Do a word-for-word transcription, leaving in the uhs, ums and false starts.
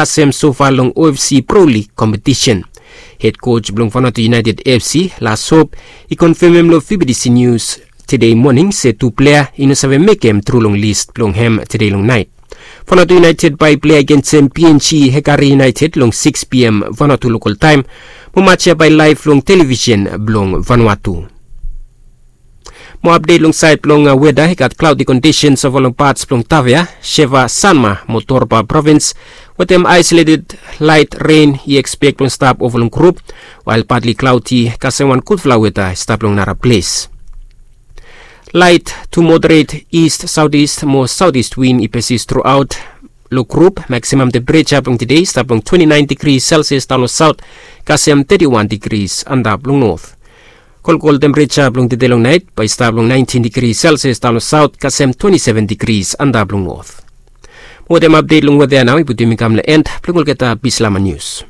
Kasem sofa long O F C Pro League kompetisen. Hed koj blong Vanuatu United F C, Las Hope, i konfemem long V B T C News tede moning se tu plea i no save mekem tru long lis blong hem tede long nait. Vanuatu United bae i plea agensem P N G Hekari United long six P M Vanuatu lokal taem, mo match ya bae i laef long televisen blong Vanuatu. Mo apdet long saed blong weda, i gat klaodi kondisens ova long pats blong Tavea, Sheva, Sanma mo Torba provins, wetem aesoleted laet ren i ekspek blong stap ova long grup, wael patli klaodi kasem wan gudfala weda i stap long nara ples. Laet tu moderet ist, saotis mo saotis win i pesis truaot long grup. Maksimam tempereja blong tede i stap long twenti naen digris selsias daon long saot, kasem teti wan digris antap long not. Kolkol tempereja blong tede long naet bae i stap long naentin digris selsias daon long saot, kasem twenti seven digris antap long not. Mo wetem apdet long weda ya nao i putum yumi kam long en blong olgeta Bislama nius.